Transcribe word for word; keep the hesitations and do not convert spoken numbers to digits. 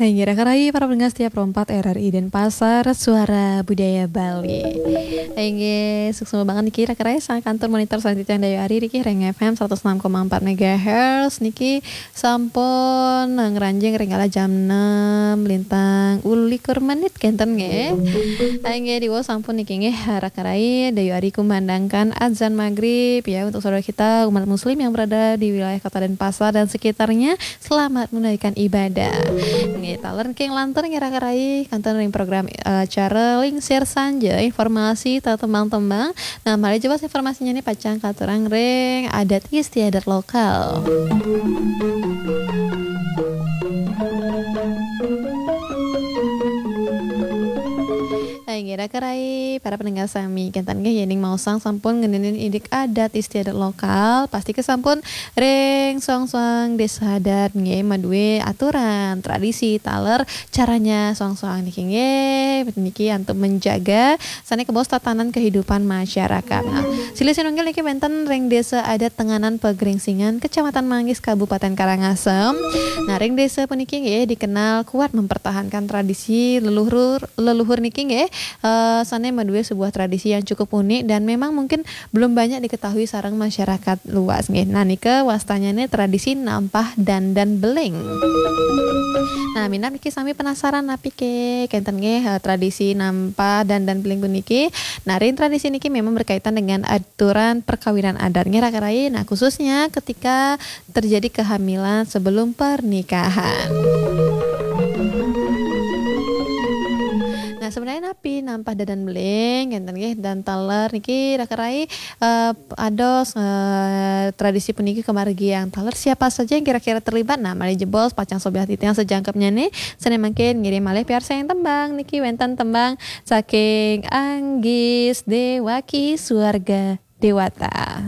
Inggih, raka rai para pendengar setia Pro empat R R I Denpasar, Suara Budaya Bali. Inggih, suksma banget niki raka rai saking kantur monitor salanjutnya Dayu Ari niki ring F M seratus enam koma empat megahertz niki sampun ngranjing ring galah jam enam lintang ulikur menit kenten nggih. Inggih, diwau sampun niki nggih raka rai Dayu Ari kumandangkan azan maghrib ya untuk saudara kita umat muslim yang berada di wilayah Kota Denpasar dan sekitarnya. Selamat menunaikan ibadah. Nggih, taler niki nglantur nggih raka rai kantun ring program, eh, acara Lingsir Sanja, informasi tetembang-tembang. Nah, malih jelas informasinya nih pacang katurang ring adat istiadat lokal. Nah, inggih raka rai, para pendengar sami, kenten nggih yéning maosang sampun ngeninin indik adat istiadat lokal, pasti kesampun ring suang-suang desa adat nggih madué aturan, tradisi, taler caranya suang-suang niki nggih, niki untuk menjaga sané kabaos tatanan kehidupan masyarakat. Nah, silih sinunggil niki wénten ring Desa Adat Tenganan Pegringsingan, Kecamatan Manggis, Kabupaten Karangasem. Nah, ring desa puniki nggih dikenal kuat mempertahankan tradisi leluhur, leluhur niki nggih, eh, sané madué sebuah tradisi yang cukup unik dan memang mungkin belum banyak diketahui sareng masyarakat luas nggih. Nah, nika wastanyané tradisi nampah dandan beling. Nah, minab niki sami penasaran napi ké kenten nggih, eh, tradisi nampah dandan beling puniki. Nah, ring tradisi niki memang berkaitan dengan aturan perkawinan adat nggih raka rai. Nah, khususnya ketika terjadi kehamilan sebelum pernikahan. Nah, sebenarnya napi nampah dandan beling kenten nggih dan taler niki raka rai, eh, ados, eh, tradisi puniki kamargiang. Taler siapa saja yang kira-kira terlibat? Nah, malih jebos pacang sobiah titiang sajangkepnya nih. Sané mangkin ngiring malih piarsayang tembang niki wénten tembang saking Anggis Dewaki Suarga Dewata.